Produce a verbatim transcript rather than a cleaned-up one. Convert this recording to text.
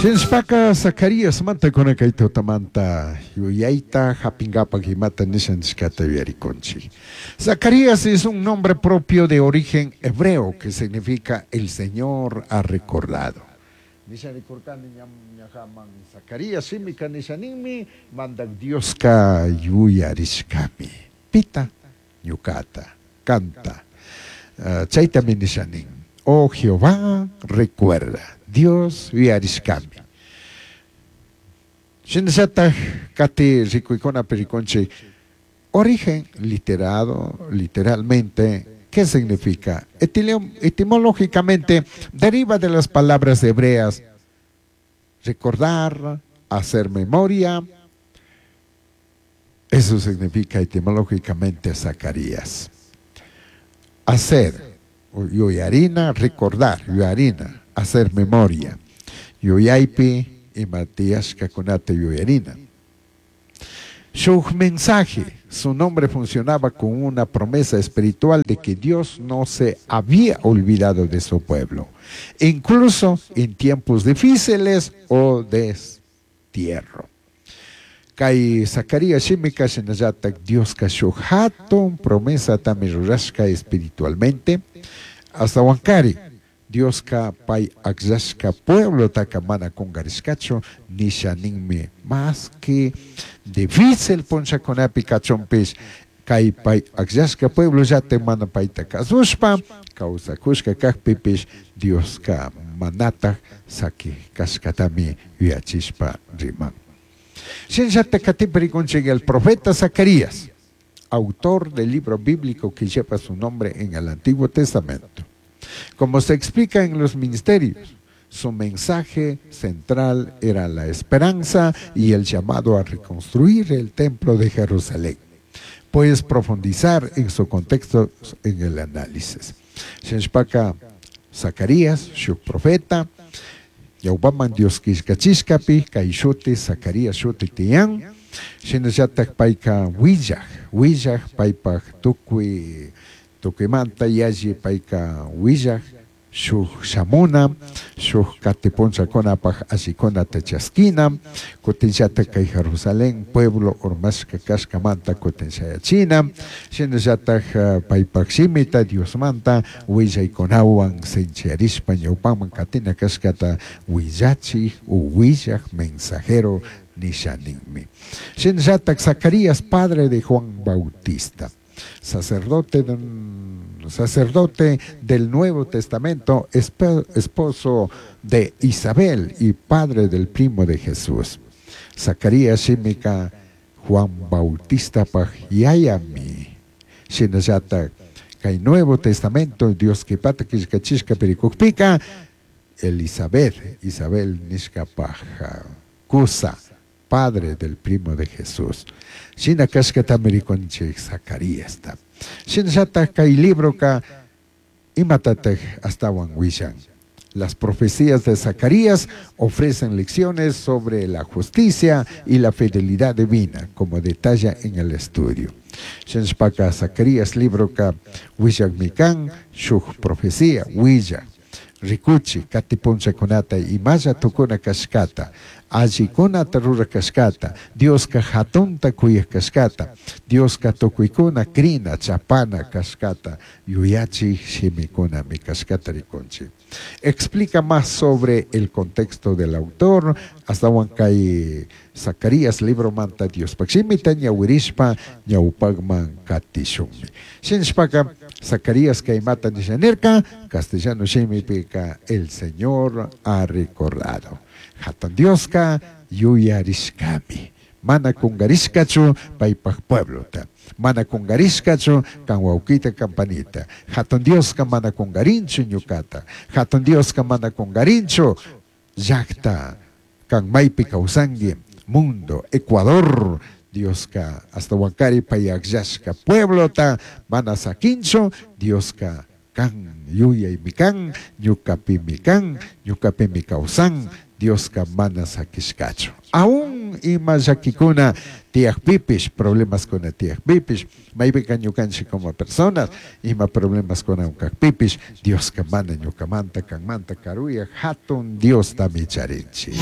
Shinashpaka Zacarías manta kay tutamanta yuyayta hapinkapak imata nisha nishkata yuyarikunchik. Zacarías es un nombre propio de origen hebreo que significa "el Señor ha recordado". Nisha rikurkani ñajaman Zacarías shimika nisha ninmi Mandak Dioska yuyarishkami. Pita ñukata, kanta. Uh, chaytami nisha nin. Oh Jehová, recuerda. Dios yuyarishkami. Shinallatak kati rikuykunapi rikunchik origen literado, literalmente, ¿qué significa? Etimológicamente deriva de las palabras hebreas recordar, hacer memoria. Eso significa etimológicamente Zacarías. Hacer, yuyarina, recordar, yuyarina, hacer memoria. Yuyaypi ima tiyashkakunata yuyarina. Su mensaje, su nombre funcionaba con una promesa espiritual de que Dios no se había olvidado de su pueblo, incluso en tiempos difíciles o destierro. Kay Zacarías shimika shinallatak Dioska shuk hatun promesatami rurashka espiritualmente ashtahuankari Dioska pay akllashka pueblotaka mana kungarishkachu nisha ninmi más que difícil punllakunapi kachunpish kay pay akllashka pueblo llatak mana payta kasushpa kawsakushka kakpipish Dioska manatak saki kashkatami yuyachishpa riman. Shinallatak katipi rikunchik el profeta Zacarías, autor del libro bíblico que lleva su nombre en el Antiguo Testamento. Como se explica en los ministerios, su mensaje central era la esperanza y el llamado a reconstruir el templo de Jerusalén. Puedes profundizar en su contexto en el análisis. Shinashpaka Zacarías, shuk profeta, ñawpaman Dios killkachishkapi, kay shuti Zacarías shuti tiyan, shinallatak payka willaj, willaj paypak tukuy tukuymanta yalli payka willaj shuk shamuna, shuk kati punllakunapak allikunata chaskina, kutinllatak kay Jerusalén pueblo urmashka kashkamanta kutin shayachina, shinallatak paypak shimita Diosmanta willaykunawan sinchiyarishpa ñawpaman katina kashkata willachik u willaj mensajero nisha ninmi. Shinallatak Zacarías, padre de Juan Bautista, sacerdote, sacerdote del Nuevo Testamento, esposo de Isabel y padre del primo de Jesús. Zacarías shimika Juan Bautista pak yayami. Shinallatak kay Nuevo Testamento Dios kipata killkachishkapi rikukpika Elizabeth, Isabel nishkapaj kusa, padre del primo de Jesús. Shina kashkatami rikunchik Zacaríasta. Shinallatak kay libroka imatatak ashtawan willan. Las profecías de Zacarías ofrecen lecciones sobre la justicia y la fidelidad divina, como detalla en el estudio. Shinashpaka Zacarías libroka willakmi kan shuk profecía willak rikuchi kati punllakunata imalla tukuna kashkata, allikunata rurak kashkata, Dioska hatunta kuyak kashkata, Dioska tukuykuna krina chapana kashkata, yuyachik shimikunami kashkata rikunchik. Explica más sobre el contexto del autor, ashtawan kay Zacarías libromanta Diospak shimita ñawirishpa ñawpakman katishunmi. Shinashpaka Zacarías kaymata nisha nirka, castellano shimipika el Señor ha recordado. Hatun Dioska yuyarishkami. Mana kungarishkachu paypak pueblota. Mana kungarishkachu kan wawkita kan panita. Hatun Dioska mana kungarinchu ñukata. Hatun Dioska mana kungarinchu llakta kan maypi kawsanki mundo, Ecuador. Dioska ashtawankari pay akllashka pueblota mana sakinchu Dioska kan yuyaymi kan ñukapimi kan ñukapimi kawsan. Dioska mana saquishcachu. Aún ima llaquicuna tiyajpipish, problemaskuna tiyajpipish, maypika ñukanchik como personas, ima problemaskuna kajpipish, Dioska mana ñukamanta, kanmanta karuya hatun Diostami charinchik.